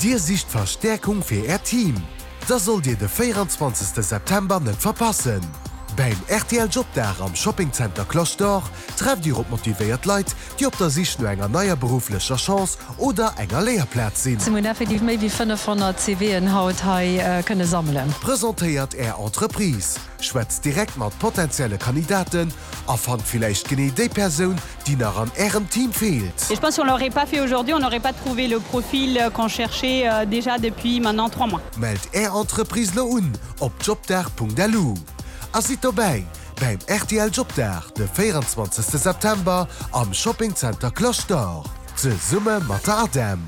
Dir sicht Verstäerkung fir Äert Team? Da sollt Dir de 24 September net verpassen! Beim rtl Jobdag am Shopping Center Cloche d'Or trefft Dir op motivéiert Leit, déi op der Sich no enger neier berufflecher Chance oder enger Léierplaz sinn. Mir hunn effektiv méi wéi 500 CVen haut hei kënne sammelen. Presentéiert Är Entreprise, schwätzt direkt mat potenzielle Kandidaten a fannt villäicht genee déi Persoun, déi nach an Ärem Team feelt. Et je pense si on l'aurait pas fait aujourd'hui, on n'aurait pas trouvé le profil qu'on cherchait déjà depuis maintenant 3 mois. Mellt Är Entreprise lo un op jobdag.lu a sidd dobäi beim rtl Jobdag de 24 September am Shopping Center Cloche d'Or zesumme mat der ADEM.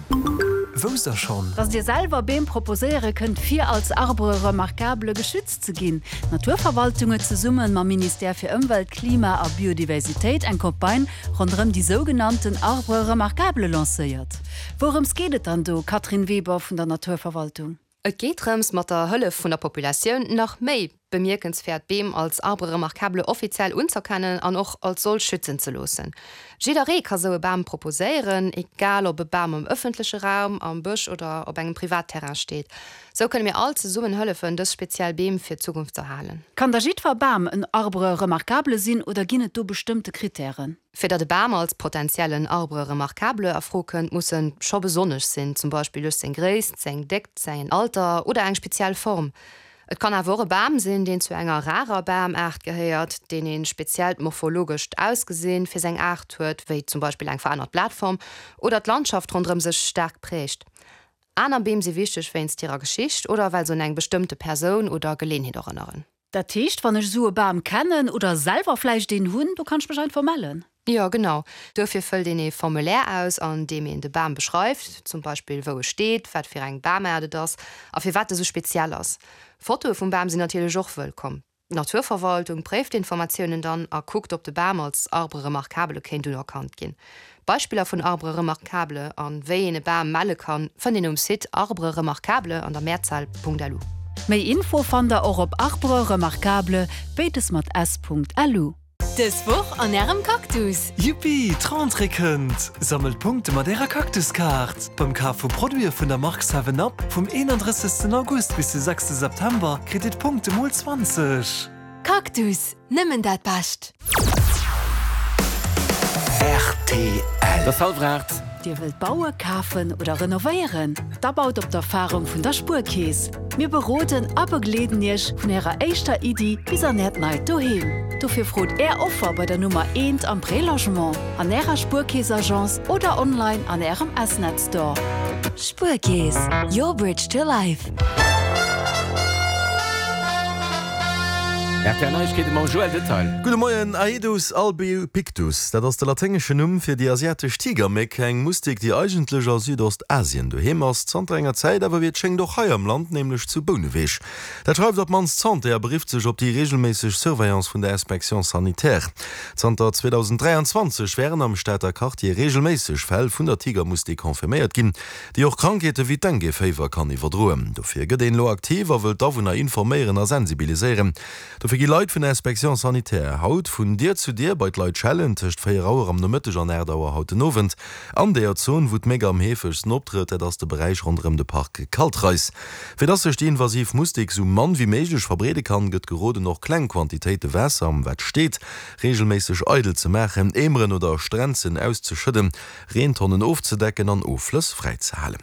Wousst der schonn? Dass Dir selwer Beem proposéiere kënnt fir als Arbre remarquable geschützt ze ginn. D'Naturverwaltung huet zesumme mam Ministère fir Ëmwelt, Klima a Biodiversitéit eng Campagne ronderëm déi sougenannten Arbres remarquables lancéiert. Wourëms geet et dann do, Catherine Weber vun der Naturverwaltung? Et geet drëms, mat der Hëllef vun der Populatioun nach méi bemierkenswäert Beem als Arbre remarquable offiziell unzerkennen an och als solch schützen ze loossen. Jidderee ka sou e Bam proposéieren, egal ob e Bam am ëffentleche Raum, am Bësch oder op engem Privatterrain steet. Sou kënne mir all zesummen hëllefen, dës speziell Beem fir d'Zukunft z'erhalen. Kann da jiddwer Bam en Arbre remarquable sinn oder ginn et do bestëmmte Krittären? Fir datt e Bam als potentiellen Arbre remarquable a Fro kënnt, muss en scho besonnesch sinn, zum Beispill duerch seng Gréisst, seng Déckt, säin Alter oder eng speziell Form. Et kann awer och e Bam sinn, deen zu enger rarer Bamaart gehéiert, deen ee speziellt morphologescht Ausgesinn fir seng Aart huet, wéi zum Beispill eng verännert Blatform, oder d'Landschaft ronderëm sech staark prägt. Aner Beem si wichteg wéinst hirer Geschicht oder well se un eng bestëmmte Persoun oder Geleenheet erënneren. Dat heescht, wann ech esou e Bam kennen oder selwer vläicht een hunn, do kann ech mech einfach mellen? Jo, genau. Duerfir fëllt een ee Formulaire aus, an deem een de Bam beschreift, zum Beispill wou e steet, wat fir eng Bamaart et ass a firwat e sou speziell ass. Fotoe vum Bam sinn natierlech och wëllkomm. D'Naturverwaltung préift d'Informatiounen dann a kuckt, ob de Bam als Arbre remarquable kéint unerkannt ginn. Beispiller vun Arbres remarquables an wéi een e Bam melle kann, fënnt een um Site Arbre remarquable an der Mehrzahl. Lu. Méi Info fannt der och op arbres-remarquables, béides mat s. Lu. Dës Woch an ärem Cactus! Yuppi, d'Rentrée kënnt! Sammelt Punkte mat ärer Cactus-Kaart! Beim Kaf vu Produite vun der Mark 7 Up vum 31. August bis de 6. September kritt dir d'Punkte mol 20! Cactus, nëmmen dat Bescht! Rtl. Et ass hallwer 8. Dir wëllt baue, kafen oder renovéieren? Da baut op d'Erfarung vun der Spuerkeess. Mir beroden a begleeden Iech vun Ärer éischter Iddi bis an Äert neit Doheem. Dofir frot Är Offer bei der Nummer eent am Prélogement, an Ärer Spuerkeess-Agence oder online an Ärem S-Net Store. Spuerkeess, your bridge to life. RTL Neiegkeete mam Joël Detail. Gudde Moien, Aedus albopictus, dat ass de laténgeschen Numm fir déi asiatesch Tigerméck, eng Mustik, déi eigentlech a Südostasien doheem ass, zanter enger Zäit awer wéi et schéngt och hei am Land, nämlech zu Bouneweg. Dat schreift op d'mannst d'Santé a berifft sech op déi reegelméisseg Surveillance vun der Inspection sanitaire. Zanter 2023 wären am Stater Quartier reegelméisseg Fäll vun der Tigermustik confirméiert ginn. déi och Krankheete wéi d'Dengue-Féiwer kann iwwerdroen. Dofir gëtt een elo aktiv a wëll d'Awunner informéieren a sensibiliséieren. Dofir gi Leit vun der Inspection sanitaire haut vun Dier zu Dier bei d'Leit schellen, tëscht 4 Auer am Nomëtteg an 8 Auer haut den Owend. An deeër Zon, wou d'Méck am heefegsten optrëtt, dat ass de Beräich ronderëm de Park Kaltreis. Fir dass sech déi invasiv Mustik sou mann wéi méiglech verbreede kann, gëtt geroden, och kleng Quantitéite Waasser, wat steet, reegelméisseg eidel ze maachen, Eemeren oder Strenzen auszeschëdden. Reentonnen ofzedecken an Offlëss fräizehalen.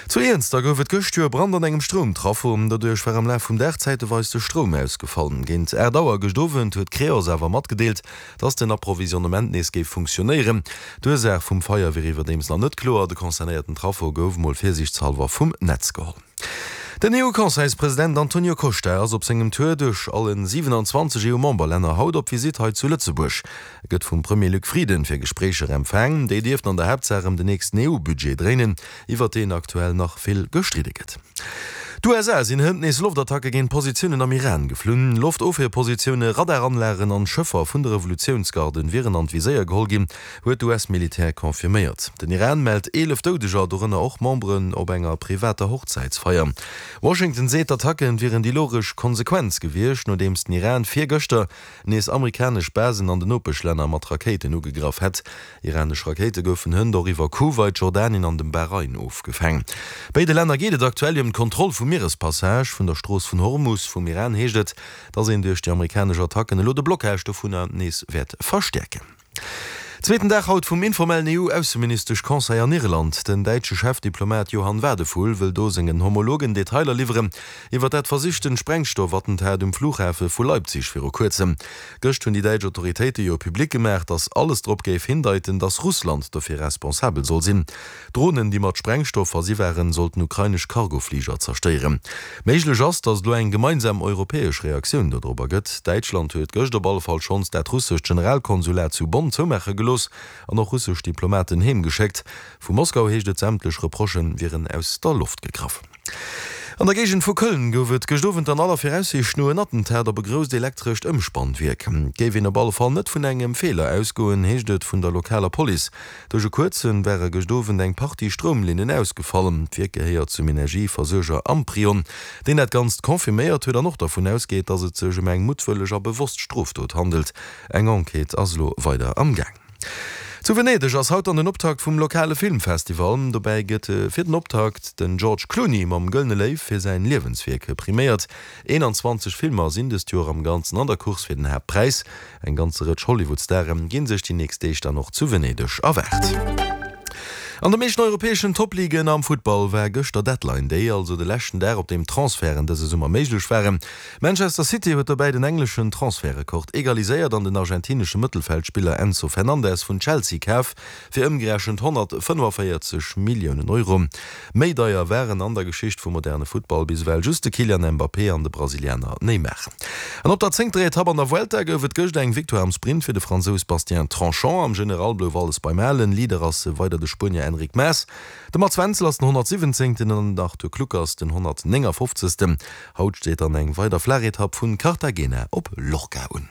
Zu Iernster gouf et gëscht jo e Brand an engem Stroumtraffo. Doduerch war am Laf vum Dag zäiteweis de Stroum ausgefall. Géint 8 Auer gëscht Owend huet d'Creos awer matgedeelt, dass den Approvisionnement nees géif funktionéieren. D'Ursaach vum Feier wier iwwerdeems nach net kloer. De concernéierten Traffo gouf mol virsiichtshallwer vum Netz geholl. Den EU-Conseilspresident Antonio Costa ass op sengem Tour duerch allen 27 EU-Memberlänner haut op Visitt hei zu Lëtzebuerg. E gëtt vum Premier Luc Frieden fir Gespréicher empfaang. Déi dierften an der Haaptsaach ëm den nächsten EU-Budget dréinen, iwwert deen aktuell nach vill gestridde gëtt. D'USA sinn hënt nees Loftattacke géint Positiounen am Iran geflunn. Loftofwierpositioune, Radaranlagen an Schëffer vun de Revolutiounsgarden wieren an d'Viséier geholl ginn, huet d'US-Militär confirméiert. Den Iran mellt 11 Doudeger, dorënner och Memberen op enger privater Hochzäitsfeier. Washington seet, d'Attacken wieren déi logesch Konsequenz gewiescht, nodeems den Iran virgëschter nees amerikanesch Basen an den Nopeschlänner mat Rakéiten ugegraff hätt. Iranesch Rakéite goufen hënt och iwwer Kuwait, Jordanien an dem Bahrain ofgefaang. Béide Länner geet et aktuell ëm d'Kontroll vum Mierespassage vun der Strooss vun Hormus. Vum Iran heescht et, datt een duerch déi amerikanesch Attacken elo de Blockage dovunner nees wäert verstäerken. Zweeten Dag haut vum informellen EU-Ausseministesch-Conseil an Irland. Den däitsche Chefdiplomat Johann Wadephul wëll do sengen Homologen Detailer liwweren iwwer dat versichten Sprengstoffattentat um Flughafe vu Leipzig viru kuerzem. Gëscht hunn déi däitsch Autoritéite jo public gemaach, datt alles drop géif hindeiten, datt Russland dofir responsabel soll sinn. Dronen, déi mat Sprengstoff versi waren, sollten ukrainesch Cargofliger zerstéieren. Méiglech ass, datt et elo eng gemeinsam europäesch Reaktioun dodrobber gëtt. Däitschland huet gëscht op alle Fall schonns dat russescht Generalkonsulat zu Bonn zoumaache gelooss an och russesch Diplomaten heemgeschéckt. Vu Moskau heescht et, sämtlech Reprochë wieren aus der Loft gegraff. An der Géigend vu Köln gouf et gëscht Owend an aller Viraussiicht no en Attentat op e grousst elektrescht Ëmspannwierk. Et géif een op alle Fall net vun engem Feeler ausgoen, heescht et vun der lokaler Police. Duerch e kuerze ware gëscht Owend eng Partie Stroumlinnen ausgefall. D'Wierk gehéiert zum Energieversuerger Amprion, deen dat Ganzt confirméiert huet an och dervun ausgeet, datt et sech ëm eng muttwëlleg a bewosst Strofdot handelt. Eng Enquête ass elo weider am Gaang. Zu Venedeg ass haut dann den Optakt vum lokale Filmfestival. Dobäi gëtt fir den Optakt den George Clooney mam Gëllene Léiw fir säin Liewenswierk priméiert. 21 Filmer sinn dëst Joer am Ganzen an der Course fir den Haaptpräis. Eng ganze Rëtsch Hollywood-Stare ginn sech déi nächst Deeg dann och zu Venedeg erwaart. An de meeschten europäeschen Top-Ligen am Futtball war gëschter Deadline Day, also de leschten Dag op deem Transferten dëse Summer méiglech waren. Manchester City huet dobäi den engleschen Transfertrekord egaliséiert an den argentinesche Mëttelfeldspiller Enzo Fernandez vun Chelsea kaf fir ëmgerechent 145 Milliounen Euro. Méi deier waren an der Geschicht vum moderne Futtball bis ewell just de Kylian Mbappé an de Brasilianer Neymar. An op der zéngter Etapp an der Vuelta gouf et gëscht eng Victoire am Sprint fir de Fransous Bastien Tronchon. Am General blouf alles beim Alen, Leader ass weider de Spuenier Enric Mas. De Mats Wenzel ass den 117. an den Arthur Kluckers den 159. Haut steet dann eng weider Flaachetapp vun Cartagena op Lorca un.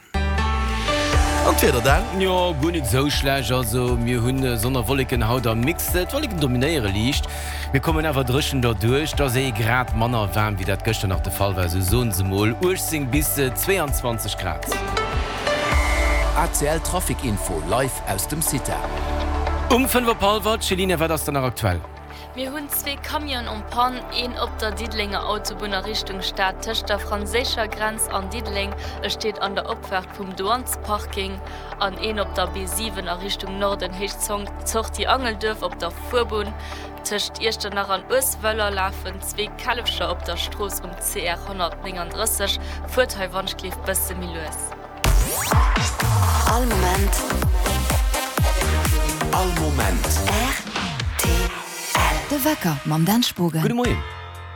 An d'Wieder Dan? Jo, guer net esou schlecht. Also mir hunn Sonn a Wolleken haut am Mix. D'Wolleken dominéiere liicht, mir kommen awer dréchen derduerch. Et ass ee Grad manner waarm wéi dat gëschter nach de Fall war, esou soen se mol 18 bis 22 Grad. ACL Trafic Info live aus dem CITA. Um 5 op hallwer, Céline, wat ass dann nach aktuell? Mir hunn zwee Camionen en panne, een op der Diddelenger Autobunn a Richtung Stad tëscht der franséischer Grenz an Diddeleng, e steet an der Opfaart vum Douanesparking, an een op der B7 a Richtung Norden Héicht Sortie Angelduerf op der Fuerbunn. Tëscht Iechternach an Ueswëller lafen zwee Källefcher op der Strooss um CR 139. Fuert hei wannschgleef bësse méi lues. All Moment. All Moment. Rtl. De Wecker mam Dan Spogen. Gudde Moien.